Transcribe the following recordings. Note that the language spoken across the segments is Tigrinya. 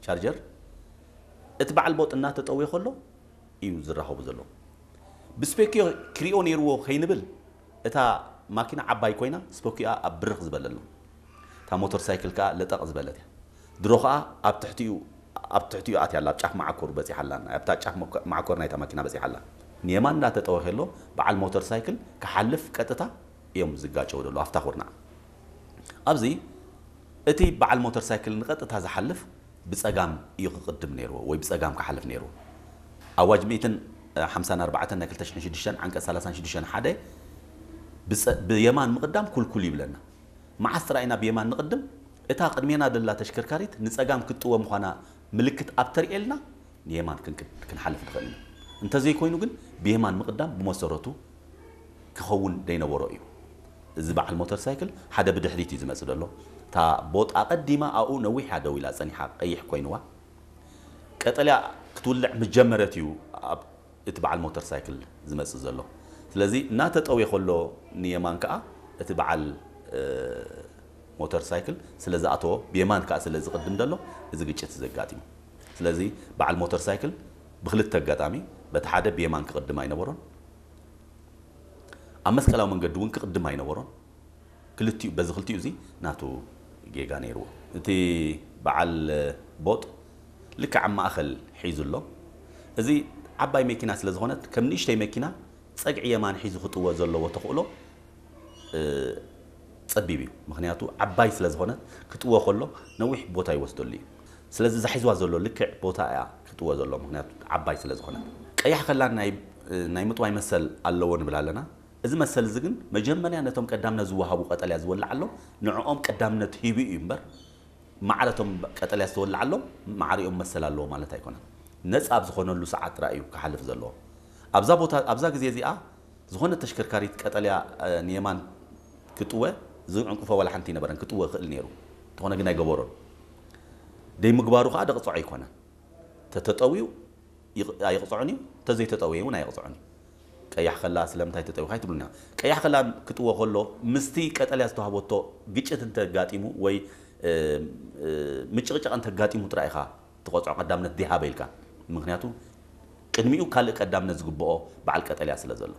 ቻርጀር እቲ በዓል ቦጥ እናተጠውየ ከሎ እዩ ዝራኸቡ ዘሎ። ብስፔኪዮ ክሪኦ ነይርዎ ከይንብል፣ እታ ማኪና ዓባይ ኮይና ስፖኪኣ ኣብ ብርኽ ዝበለ ኣሎ። እታ ሞተር ሳይክል ከኣ ለጠቕ ዝበለት እያ። ድሮ ከኣ ኣብ ትሕቲኡ ኣብ ትሕቲኡ ኣትያ ኣላ፣ ኣብ ጫፍ መዓኮር በጺሓ ኣላ፣ ኣብታ ጫፍ መኮ- መዓኮር ናይታ ማኪና በጺሓ ኣላ። ንየማን እንዳተጠወ ከሎ በዓል ሞተር ሳይክል ክሓልፍ ቀጥታ እዮም ዝጋጨው ዘሎ ኣብታ ኩርናዕ። ኣብዚ እቲ በዓል ሞተር ሳይክል ንቐጥታ ዝሓልፍ ብጸጋም እዩ ክቕድም ነይርዎ ወይ ብጸጋም ክሓልፍ ነይርዎ። ኣዋጅ ሚእትን ሓምሳን ኣርባዕተን ናይ ክልተ ሽሕን ሽዱሽተን ዓንቀጽ ሰላሳን ሽዱሽተን ሓደ ብጸ- ብየማን ምቕዳም ኩልኩል ይብለና። መዓስ ጥራይ ኢና ብየማን ንቕድም? እታ ቅድሜና ደላ ተሽከርካሪት ንጸጋም ክትጥወ ምዃና ምልክት ኣብ ተርእየልና ንየማን ክንክ- ክንሓልፍ ንኽእል ኢና። እንተዘይኮይኑ ግን ብየማን ምቕዳም ብመሰረቱ ክኸውን ደይነበሮ እዩ። እዚ በዓል ሞተር ሳይክል ሓደ ብድሕሪት እዩ ዝመጽእ ዘሎ። እታ ቦጥ ኣቐዲማ ኣብኡ ነዊሕ እያ ደው ኢላ ጸኒሓ ቀይሕ ኮይንዋ። ቀጠልያ ክትውልዕ ምስ ጀመረት እዩ ኣብ እቲ በዓል ሞተር ሳይክል ዝመጽእ ዘሎ። ስለዚ እናተጠውየ ከሎ ንየማን ከኣ እቲ በዓል እ፣ ሞተር ሳይክል ስለ ዝኣተዎ ብየማን ከኣ ስለ ዝቕድም ዘሎ እዚ ግጭት ዘጋጢሙ። ስለዚ በዓል ሞተር ሳይክል ብክልተ ኣጋጣሚ በቲ ሓደ ብየማን ክቕድም ኣይነበሮን፣ ኣብ መስቀላዊ መንገዲ እውን ክቕድም ኣይነበሮን። ክልቲኡ በዚ ክልቲኡ እዚ ናቱ ጌጋ ነይርዎ። እቲ በዓል ቦጥ ልክዕ ኣብ ማእኸል ሒዙ ኣሎ። እዚ ዓባይ መኪና ስለ ዝኾነት ከም ንእሽተይ መኪና ጸግዒ የማን ሒዙ ክጥወ ዘለዎ ተኽእሎ እ፣ ጸቢብ እዩ። ምኽንያቱ ዓባይ ስለ ዝኾነት ክጥወ ከሎ ነዊሕ ቦታ ይወስደሉ እዩ። ስለዚ እዛ ሒዝዋ ዘሎ ልክዕ ቦታ እያ ክጥወ ዘሎ፣ ምኽንያቱ ዓባይ ስለ ዝኾነት። ቀያሕ ከላ ናይ ናይ ምጥዋይ መሰል ኣለዎ ንብል ኣለና። እዚ መሰል እዚ ግን መጀመርያ ነቶም ቀዳምነት ዝወሃቡ ቀጠልያ ዝወልዓሎም ንዕኦም ቀዳምነት ሂቡ እዩ እምበር፣ ማዕረቶም ቀጠልያ ዝተወልዓሎም ማዕሪኦም መሰል ኣለዎ ማለት ኣይኮነን። ነጻ ኣብ ዝኾነሉ ሰዓት ጥራይ እዩ ክሓልፍ ዘለዎ። ኣብዛ ቦታ ኣብዛ ግዜ እዚኣ ዝኾነ ተሽከርካሪት ቀጠልያ እ፣ ንየማን ክጥወ ዝዕንቅፎ ዋላ ሓንቲ ይነበረን፣ ክጥወ ይኽእል ነይሩ። እንተኾነ ግን ኣይገበሮን። ደይምግባሩ ከዓ ደቕፅዖ ኣይኮነን። ተተጠውዩ ይቕ- ኣይቕፅዖን እዩ፣ ተዘይተጠውየ እውን ኣይቕፅዖን እዩ። ቀያሕ ከላ ስለምንታይ ተጠዊኻ ኣይትብሉን ኢኻ። ቀያሕ ከላ ክጥወ ከሎ ምስቲ ቀጠልያ ዝተዋህበቶ ግጭት እንተጋጢሙ ወይ እ፣ እ፣ ምጭቕጫቕ እንተጋጢሙ ጥራይ ኢኻ ትቐፅዖ ቀዳምነት ዲሃበ ኢልካ። ምክንያቱ ቅድሚኡ ካልእ ቀዳምነት ዝግብኦ በዓል ቀጠልያ ስለ ዘሎ።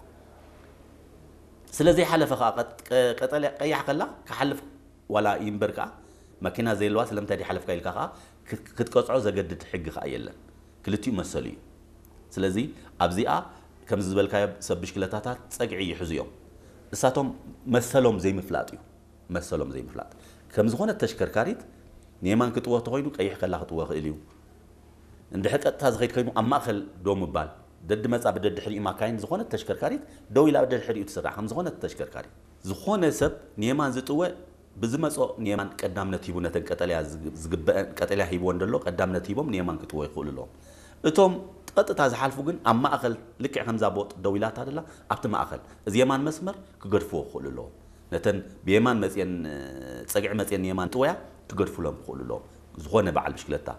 ስለ ዘይሓለፈ ከዓ ቀጥ- ቀ- ቀጠልያ ቀያሕ ከላ ክሓልፍ ዋላ ይንበር ከዓ መኪና ዘየለዋ ስለምንታይ ዲሓለፍካ ኢልካ ከዓ ክት- ክትቀፅዖ ዘገድድ ሕጊ ከዓ የለን። ክልቲኡ መሰሉ እዩ። ስለዚ ኣብዚኣ ከምዚ ዝበልካዮ ሰብ ብሽክለታታት ጸግዒ ይሕዙ እዮም። እሳቶም መሰሎም ዘይምፍላጥ እዩ። መሰሎም ዘይምፍላጥ ከም ዝኾነ ተሽከርካሪት ንየማን ክጥወ ተኾይኑ ቀይሕ ከላ ክጥወ ክእል እዩ። እንድሕር ቀጥታ ዝኸይድ ኮይኑ ኣብ ማእኸል ደው ምባል፣ ደዲ መጻ ብደድሕሪኡ ማካይን ዝኾነ ተሽከርካሪት ደው ኢላ ብደድሕሪኡ ትስራዕ ከም ዝኾነ ተሽከርካሪት። ዝኾነ ሰብ ንየማን ዝጥወ ብዝመጾ ንየማን ቀዳምነት ሂቡ ነተን ቀጠልያ ዝግ- ዝግበአን ቀጠልያ ሂብወን ደሎ ቀዳምነት ሂቦም ንየማን ክጥወ ይኽእሉ ኣለዎም። እቶም ቀጥታ ዝሓልፉ ግን ኣብ ማእኸል ልክዕ ከምዛ ቦጥ ደው ኢላታ ደላ ኣብቲ ማእኸል እዚ የማን መስመር ክገድፍዎ ክኽእሉ ኣለዎም። ነተን ብየማን መፅየን እ፣ ፀግዒ መፅየን ንየማን ጥወያ ክገድፉሎም ክኽእሉ ኣለዎም። ዝኾነ በዓል ብሽክለታ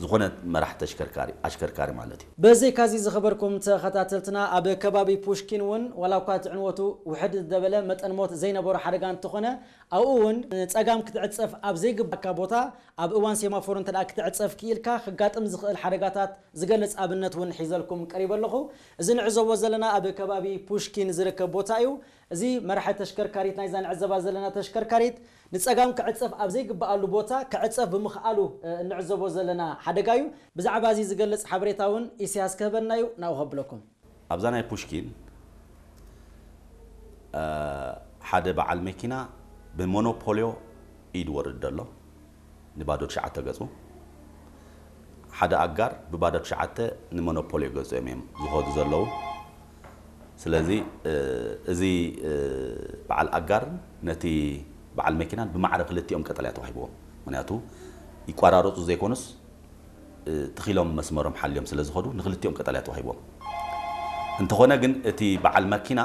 ዝኾነ መራሕ ተሽከርካሪ ኣሽከርካሪ ማለት እዩ። ብዘይካዚ ዝኸበርኩም ተኸታተልትና ኣብ ከባቢ ፑሽኪን እውን ዋላ እኳ እቲ ዕንወቱ ውሕድ ዝበለ መጠን ሞት ዘይነበሮ ሓደጋ እንተኾነ ኣብኡ እውን ንፀጋም ክትዕፀፍ ኣብ ዘይግባካ ቦታ ኣብ እዋን ሴማፎር እንተ ክትዕፀፍ ክኢልካ ክጋጥም ዝኽእል ሓደጋታት ዝገልፅ ኣብነት እውን ሒዘልኩም ቀሪበ ኣለኹ። እዚ ንዕዘቦ ዘለና ኣብ ከባቢ ፑሽኪን ዝርከብ ቦታ እዩ። እዚ መራሒ ተሽከርካሪት ናይዛ ንዕዘባ ዘለና ተሽከርካሪት ንፀጋም ክዕፀፍ ኣብ ዘይግበኣሉ ቦታ ክዕፀፍ ብምኽኣሉ እንዕዘቦ ዘለና ሓደጋ እዩ። ብዛዕባ እዚ ዝገልፅ ሓበሬታ እውን ኢሳያስ ክህበና እዩ። ናብኡ ከብለኩም። ኣብዛ ናይ ፑሽኪን ሓደ በዓል መኪና ብሞኖፖልዮ ኢድ ወርድ ደሎ ንባዶ ትሽዓተ ገጹ ሓደ ኣጋር ብባዶ ትሽዓተ ንሞኖፖልዮ ገጹ እዮም እዮም ዝኸዱ ዘለዉ። ስለዚ እዚ በዓል ኣጋር ነቲ በዓል መኪናን ብማዕረ ክልቲኦም ቀጠልያ ተዋሂብዎም። ምክንያቱ ይቋራረፁ ዘይኮኑስ ትኺሎም መስመሮም ሓልዮም ስለ ዝኸዱ ንክልቲኦም ቀጠልያ ተዋሂቦም። እንተኾነ ግን እቲ በዓል መኪና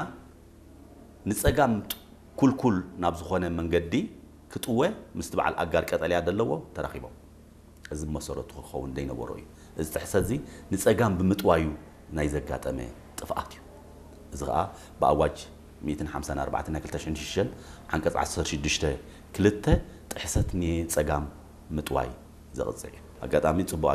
ንጸጋም ኩልኩል ናብ ዝኾነ መንገዲ ክጥወ ምስቲ በዓል ኣጋር ቀጠልያ ደለዎ ተራኺቦም። እዚ ብመሰረቱ ክኸውን ዘይነበሮ እዩ። እዚ ጥሕሰት እዚ ንጸጋም ብምጥዋዩ ናይ ዘጋጠመ ጥፍኣት እዩ። እዚ ኸኣ ብኣዋጅ ሚእትን ሓምሳን ኣርባዕተን ናይ ክልተ ሽሕን ሽዱሽተን ዓንቀጽ ዓሰርተ ሽዱሽተ ክልተ ጥሕሰት ንጸጋም ምጥዋይ ዘቕጽዕ እዩ። ኣጋጣሚ ጽቡቕ